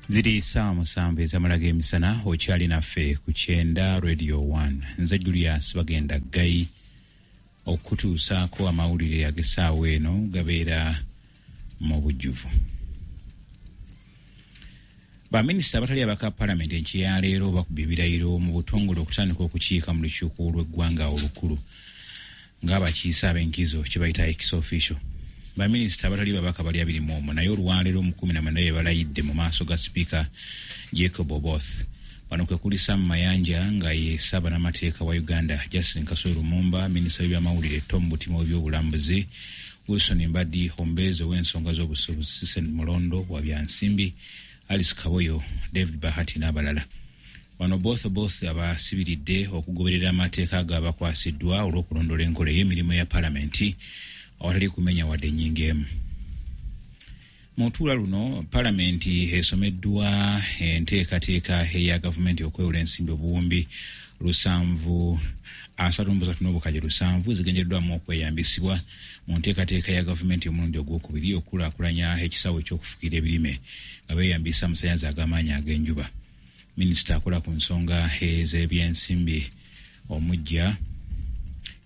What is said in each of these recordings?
Ziri 7:00 ezamala g'emisana, okyali naffe ku Kyenda Radio 1. Nze Julius Bagenda Ggayi okutuusaako amawulire ag'essaawa eno gabeera mu bujjuvu. Baminisita abatali abaka palamenti enkya ya leero bakuba ebirayiro mu butongole okutandika okukiika mu lukiiko lw'eggwanga olukulu ng'abakiise ab'enkizo kye bayita ex officio. Baminisita abatali babaka bali 21, naye olwaleero mu 19 be balayidde mu maaso ga sipiika Jacob Oboth. Bano kwe kuli Sam Mayanja nga ye ssaabannamateeka wa Uganda, Justin Kasule Lumumba minisita w'ebyamawulire, Tom Butima w'ebyobulambuzi, Wilson Mbadi omubeezi ow'ensonga z'obusuubuzi, Sisen Mulondo wa byansimbi, Alice Kaboyo, David Bahati n'abalala. Bano Oboth abasibiridde okugoberera amateeka agabakwasiddwa olw'okulondoola enkola ey'emirimu ya palamenti awatali kumenya wadde ennyingo emu. Mu lutuula luno palamenti esomeddwa enteekateeka eya gavumenti okwewola ensimbi obuwumbi 733,700 zigendereddwamu okweyambisibwa mu nteekateeka ya gavumenti omulundi ogwokubiri okukulaakulanya ekisaawe eky'okufukirira ebirime nga beeyambisa amasannyalaze ag'amaanyi ag'enjuba. Minisita akola ku nsonga ez'ebyensimbi omuggya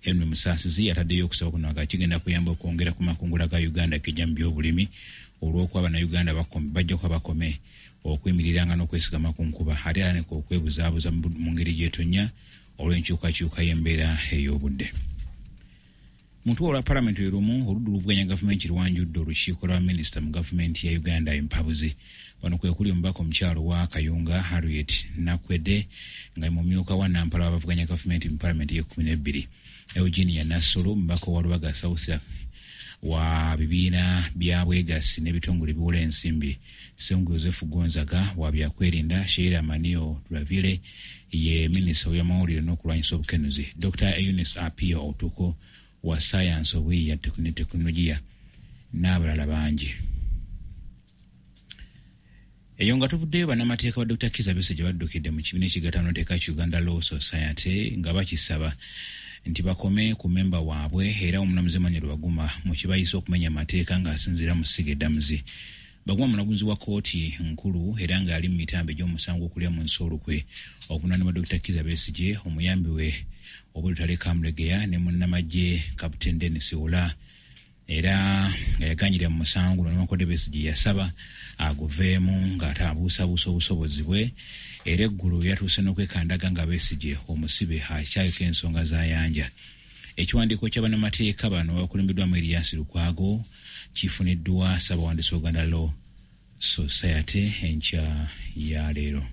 Henry Musaasizi ataddeyo okusaba kuno nga kigenda kuyamba okwongera ku makungula ga Uganda gejja mu byobulimi olw'okuba Bannayuganda bajja kuba bakome okuyimiriranga n'okwesigama ku nkuba ate era ne okwebuzaabuza mu ngeri gy'etonnya olw'enkyukakyuka y'embeera ey'obudde. Mu lutuula lwa palamenti lwe lumu, oludda oluvuganya gavumenti lwanjudde olukiiko lwa minisita mu gavumenti ya Uganda empabuzi. Bano kwe kuli omubaka omukyalo wa Kayunga Harriet Nakwedde nga mumyuka wa Nampala w'abavuganya gavumenti mu palamenti y'e12, Eugenia Nassolo omubaka wa Lubaga South wa bibiina bya bwegassi n'ebitongole ebiwola ensimbi, Ssengu Joseph Gonzaga wa byakwerinda, Sheila Manio Dravile ye minisita w'ebyamawulire n'okulwanyisa obukenuzi, Dr Eunice Apio Otuko wa sayansi obuyiiya ne tekinologiya n'abalala bangi. Eyo nga tuvuddeyo, bannamateeka ba Dr Kizza Besigye baddukidde mu kibiina ekigatta bannamateeka ki Uganda Law Society nga bakisaba nti bakome ku memba waabwe era omulamuzi Emmanuel Baguma mu kibayise okumenya amateeka ng'asinziira mu ssiga eddamuzi. Baguma mulamuzi wa kkooti nkulu era ng'ali mu mitambo egy'omusango okulya mu nsi olukwe ovunaanibwa Dr Kizza Besigye, omuyambi we Obed Lutale Kamulegeya ne munnamagye Captain Denis Ola, era nga yaganyira mu musango guno newankubadde Besigye yasaba aguveemu ng'ate abuusabuusa obusobozi bwe. Era eggulo yatuuse n'okwekandaga nga Besigye omusibe akyayiko ensonga z'ayanja. Ekiwandiiko kya bannamateeka bano abakulembeddwamu Erias Lukwago kifuniddwa ssabawandiisi wa Uganda Law Society enkya ya leero.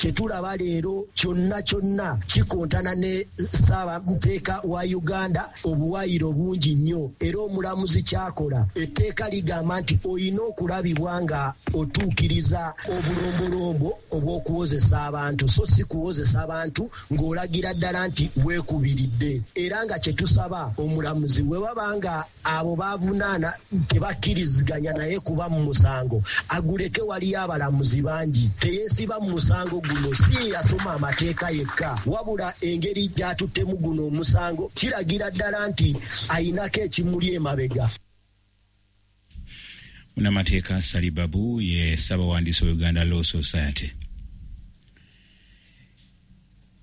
Kyetulaba leero kyonna kyonna kikontana ne ssaabamateeka wa Uganda obuwaayiro bungi nnyo. Era omulamuzi kyakola, etteeka ligamba nti olina okulabibwa nga otuukiriza obulombolombo obw'okuwozesa abantu, so si kuwozesa abantu ng'olagira ddala nti weekubiridde. Era nga kyetusaba omulamuzi, bwe baba nga abo bavunaana tebakkiriziganya naye kuba mu musango, aguleke. Waliyo abalamuzi bangi, teyeesiba mu musango guno. Si ye yasoma amateeka yekka, wabula engeri gy'atuttemu guno omusango kiragira ddala nti ayinako ekimuli emabega. Munnamateeka Sali Babu ye ssabawandiisi wa Uganda Law Society.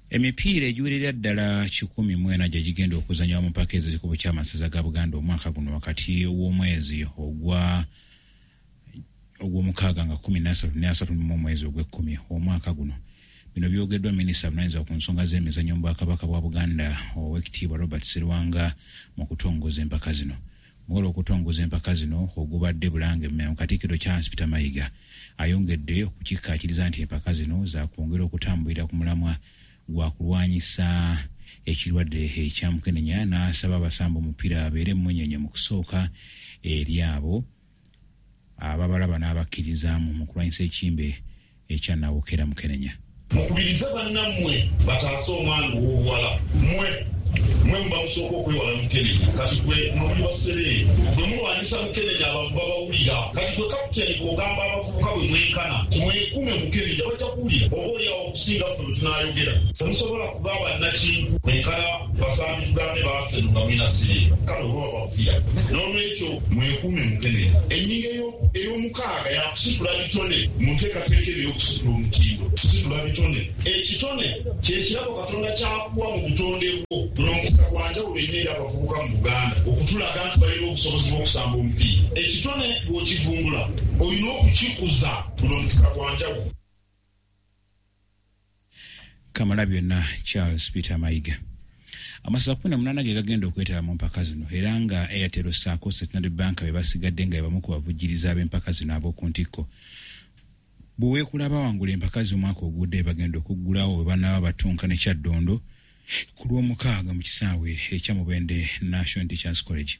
Emipiira egiwerera ddala 104 gye gigenda okuzanyibwa mu mpaka ez'ekikopo ky'amasaza ga Buganda omwaka guno wakati w'omwezi ogwa ogw'omukaaga nga 13 ne 30 mu omwezi ogw'ekkumi omwaka guno. Bino byogeddwa minisita avunaanyizibwa ku nsonga z'emizannyo mu Bwakabaka bwa Buganda, Oweekitiibwa Robert Serwanga, mu kutongoza empaka zino. Mukolo okutongoza empaka zino ogubadde Bulange Mmengo, Katikkiro Charles Peter Mayiga ayongedde okukikkaatiriza nti empaka zino zakwongera okutambulira ku mulamwa gwa kulwanyisa ekirwadde ekya mukenenya, n'asaba abasamba omupiira babeere emmunyeenye mu kusooka eri abo ababalaba n'abakkirizaamu mu kulwanyisa ekimbe ekya nawokera mukenenya. Mukubirize bannammwe bataase omwana ow'obuwala. Mmwe Mwe muba musooka okwewala Mukenenya, kati gwe n'oli wa Sereebu bwe mulwanyisa Mukenenya abantu babawulira. Kati gwe kapiteeni bw'ogamba abavubuka bwe mwenkana timwekume Mukenenya bajja kuwulira, oba oliawo okusinga ffe bwe tunaayogera. Temusobola kuba bannakinku mwenkana basambi tugambe baaseno nga mulina Sereebu, kale oba babavira. N'olwekyo mwekuume Mukenenya. Ennyingo ey'omukaaga yakusitula bitone mu nteekateeka eno ey'okusitula omutindo. Kusitula bitone. Ekitone kye kirabo Katonda ky'akuwa mu butonde bwo. Guno mukisa gwa njawulo ennyo eri abavubuka mu Buganda okutulaga nti balina obusobozi bw'okusamba omupiira. Ekitone bw'okivumbula olina okukikuza. Guno mukisa gwa njawulo. Kamalabyonna Charles Peter Mayiga. Amasaza 18 ge gagenda okwetaba mu mpaka zino era nga Airtel ssaako Centenary Bank be basigadde nga be bamu ku bavujjirizi ab'empaka zino ab'oku ntikko. Buweekula bawangula empaka z'omwaka ogudde bagenda okuggulawo bwe banaaba batunka ne Kyaddondo ku Lwomukaaga mu kisaawe ekya Mubende National Teachers College.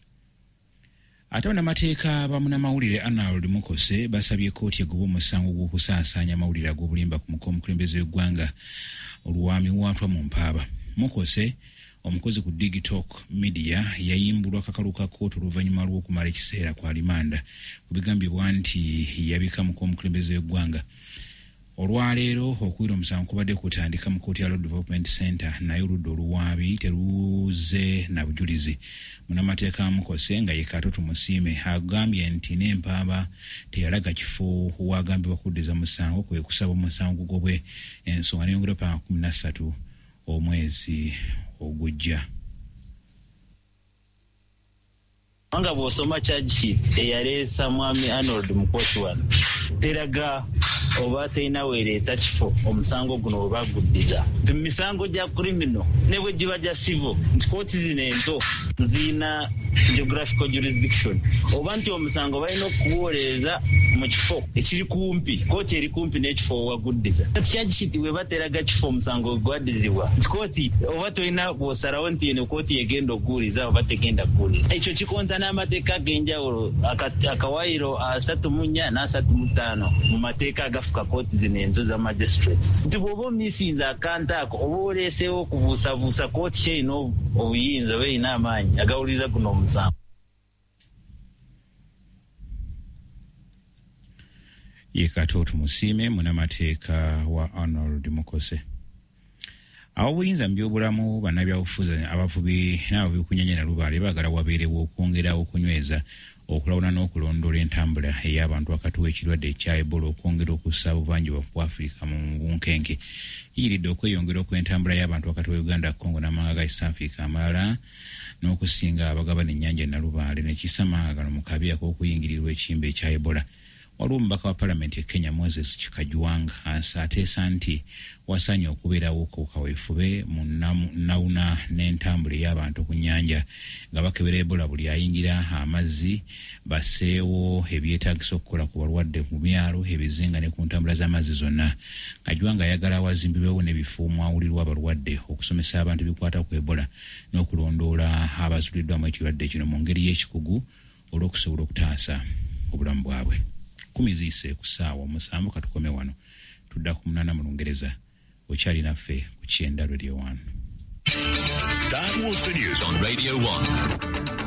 Ate bannamateeka ba munnamawulire Arnold Mukose basabye kkooti egobe omusango gw'okusaasaanya amawulire ag'obulimba ku muka omukulembeze w'eggwanga olwamiwaatwa mu mpaaba. Mukose, omukozi ku Digitalk Media, yayimbulwa kakalu ka kkooti oluvannyuma lw'okumala ekiseera ku alimanda ku bigambibwa nti yabika muka omukulembeze w'eggwanga. Olwaleero okuwulira omusango kubadde kutandika mu kkooti ya Law Development Centre naye oludda oluwaabi teruze na bujulizi. Munnamateeka Mukose nga ye Kato Tumusiime agambye nti n'empaaba teyalaga kifo w'agambibwa kuddiza musango kwe kusaba omusango gugobwe ensonga neyongera paka 13 omwezi ogujja. Kubanga bw'osoma charge sheet eyaleesa Mwami Arnold mu kkooti wano teraga oba terina weereeta kifo omusango guno we baguddiza. Nti mu misango gya criminal ne bwe giba gya civil nti kkooti zino ento zirina geographical jurisdiction oba nti omusango balina okuguwolereza mu kifo ekiri kumpi, kkooti eri kumpi n'ekifo we waguddiza. Kati charge sheet bw'eba teraga kifo omusango we gwaddizibwa nti kkooti oba tolina bw'osalawo nti eno kkooti y'egenda okuguwuliza oba tegenda kuguwuliza. Ekyo kikontana n'amateeka ag'enjawulo akawaayiro 34 n'35 mu mateeka agafuka kkooti zino ento za magistrates nti bw'oba omisinze akantu ako oba oleeseewo okubuusabuusa kkooti ki erina obuyinza oba erina amaanyi agawuliriza guno omusango. Ye Kato Tumusiime munnamateeka wa Arnold Mukose. Ab'obuyinza mu byobulamu, bannabyabufuzi, abavubi n'abavubi ku nnyanja Nalubaale baagala wabeerewo okwongera okunyweza okulawuna n'okulondoola entambula ey'abantu wakati w'ekirwadde ekya Ebola okwongera okussa obuvanjuba bwa Afrika mu bunkenke. Kiyiridde okweyongera okw'entambula y'abantu wakati wa Uganda, Congo n'amawanga ga East Africa amalala n'okusinga abagabana ennyanja Nalubaale ne kissa amawanga gano mu kabi ak'okuyingirirwa ekimbe ekya Ebola. Waliwo omubaka wa palamenti e Kenya Moses Kajwang ateesa nti wasaanye okubeerawo ku kaweefube mu nnawuna n'entambula ey'abantu ku nnyanja nga bakebera Ebola buli ayingira amazzi, basseewo ebyetaagisa okukola ku balwadde mu byalo, ebizinga ne ku ntambula z'amazzi zonna. Kajwang ayagala wazimbibwewo n'ebifo omwawulirwa abalwadde okusomesa abantu ebikwata ku Ebola n'okulondoola abazuuliddwamu ekirwadde kino mu ngeri y'ekikugu olw'okusobola okutaasa obulamu bwabwe. 10 ziyise ku ssaawa 7 katukome wano, tudda ku 8 mu Lungereza. Okyali naffe ku Kyenda Radio 1. That was the news on Radio 1.